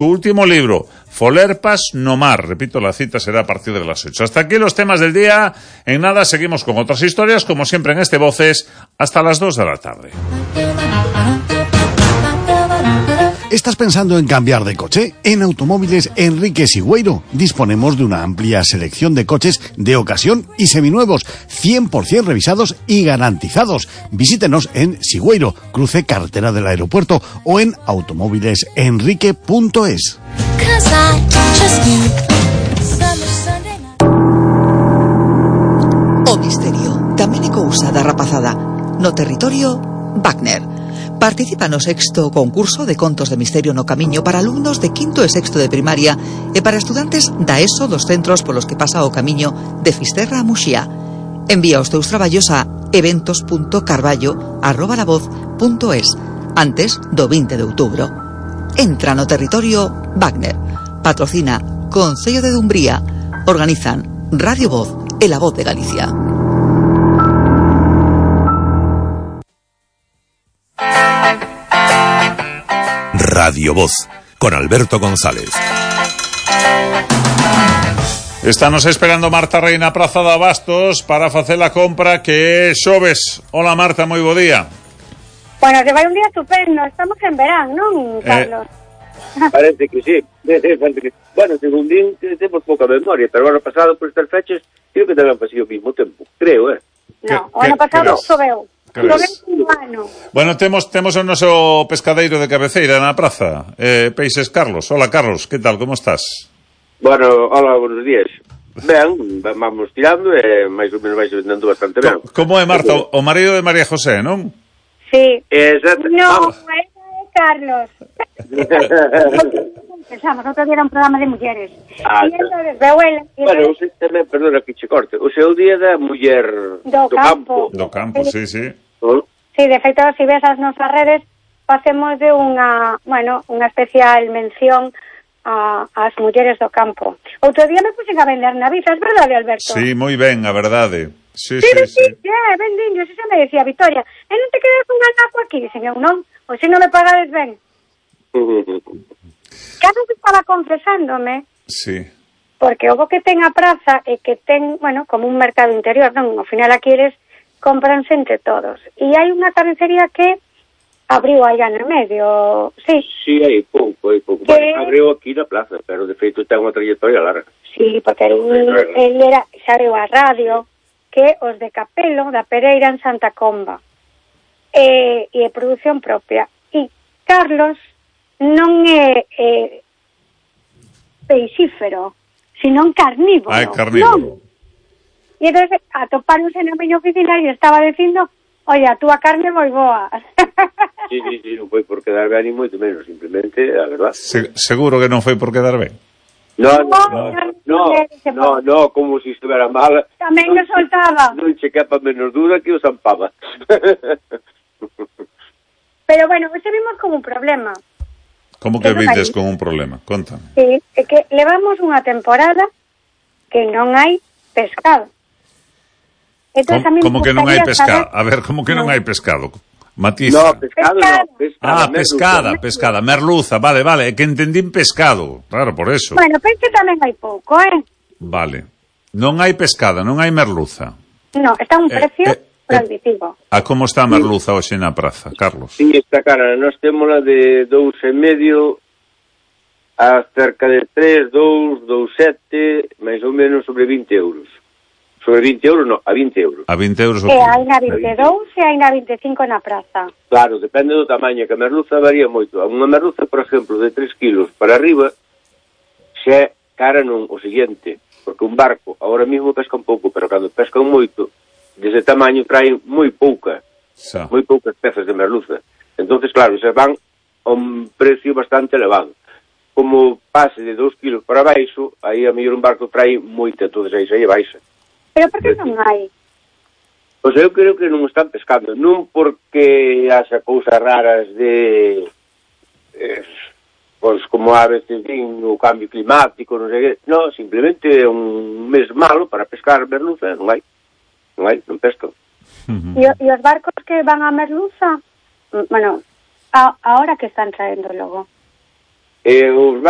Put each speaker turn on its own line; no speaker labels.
Su último libro, Folerpas no mar. Repito, la cita será a partir de las 8. Hasta aquí los temas del día. En nada, seguimos con otras historias, como siempre en este Voces, hasta las 2 de la tarde.
¿Estás pensando en cambiar de coche? En Automóviles Enrique Sigüeiro disponemos de una amplia selección de coches de ocasión y seminuevos, 100% revisados y garantizados. Visítenos en Sigüeiro, cruce carretera del aeropuerto, o en automovilesenrique.es.
O misterio tamén é cousa da rapazada. No territorio Wagner. Participa no 6º concurso de contos de misterio no camiño para alumnos de 5º e 6º de primaria e para estudantes da ESO dos centros polos que pasa o camiño de Fisterra a Muxía. Envía os teus traballos a eventos.carballo@lavoz.es antes do 20 de outubro. Entra no territorio Wagner. Patrocina Concello de Dumbría. Organizan Radio Voz e La Voz de Galicia.
Radio Voz, con Alberto González.
Estános esperando Marta Reina, Praza de Abastos, para facer a compra que é xoves. Hola Marta, moi bo día.
Bueno, que vai un día estupendo. Estamos en verán, non, Carlos?
Parece que sí. Bueno, según din, temos pouca memoria, pero o ano pasado, por estas fechas, creo que tamén pasei o mismo tempo. Creo,
No, o ano pasado choveu.
Bueno, temos o noso pescadeiro de cabeceira na praza, Peixes Carlos. Hola Carlos, que tal, como estás?
Bueno, hola, buenos días. Ben, vamos tirando e máis ou menos vais vendendo bastante ben.
Como é, Marta, o marido de María José, non?
Sí.
Exacto.
No, é Carlos. Pensamos, outro día era un programa de mulleres. E entonces, Beuela...
Bueno, usted tamén, perdona que che corte, o seu día da muller
do campo.
Do campo, sí.
Sí, de feito, se ves as nosas redes, facemos de unha especial mención ás mulleres do campo. Outro día me puxen a vender navizas, verdade, Alberto?
Sí, moi ben, a verdade. Sí.
Ben diño, se me decía Vitoria, e non te quedas un anaco aquí? Dixen eu, non, ou se non me pagades ben. Carlos estaba confesándome,
sí,
porque o que ten a praza é que ten, como un mercado interior, non? Ao final aquí eles compranse entre todos. E hai unha carnicería que abriu aí no medio, sí.
Sí, hai pouco. Bueno, abriu aquí na plaza, pero de feito ten unha trayectoria larga.
Sí, porque el era, xa abriu a radio, que os de Capelo, da Pereira en Santa Comba. E produción propia. E Carlos non é peixífero, senón carnívoro.
É carnívoro.
E entón, atopáronse na miña oficina e estaba dicindo, oye, a túa carne é moi boa.
Sí, non foi por quedar ben ni moito menos, simplemente, a verdad.
Seguro que non foi por quedar ben?
No, como se estuvera mal.
Tamén me soltaba.
Non che capa menos duda que o zampaba.
Pero bueno, hoxe vimos como un problema.
Como que vides con un problema? Contame.
Sí, é que levamos unha temporada que non hai pescado.
Como que non hai pescado? A ver, como que non hai pescado? Matiza.
No, pescado no.
Pescada. Merluza, vale. É que entendín pescado. Claro, por eso.
Bueno, peixe tamén hai pouco,
Vale. Non hai pescada, non hai merluza.
No, está un precio prohibitivo.
A como está a merluza hoxe na praza, Carlos?
Sí, está cara. Nós témola de 2,5 a cerca de 3, 2, 2,7, máis ou menos sobre 20 euros. Sobre 20 euros, no, a 20 euros.
A 20 euros.
E hai na 22 e hai na 25 na praza.
Claro, depende do tamaño, que a merluza varía moito. Unha merluza, por exemplo, de 3 kilos para arriba, xa é cara non o seguinte, porque un barco ahora mismo pesca un pouco, pero cando pescan moito, dese tamaño traen moi poucas pezas de merluza. Entonces, claro, se van a un precio bastante elevado. Como pase de 2 kilos para baixo, aí a mellor un barco trae moita, entonces aí xa lle baixa.
Pero por que non hai?
Pois eu creo que non están pescando, non porque haxa cousas raras de pois como a veces din o cambio climático, non sei que, non, simplemente é un mes malo para pescar merluza, non pescan.
E os barcos que van a merluza, bueno, ahora que están traendo logo?
Os barcos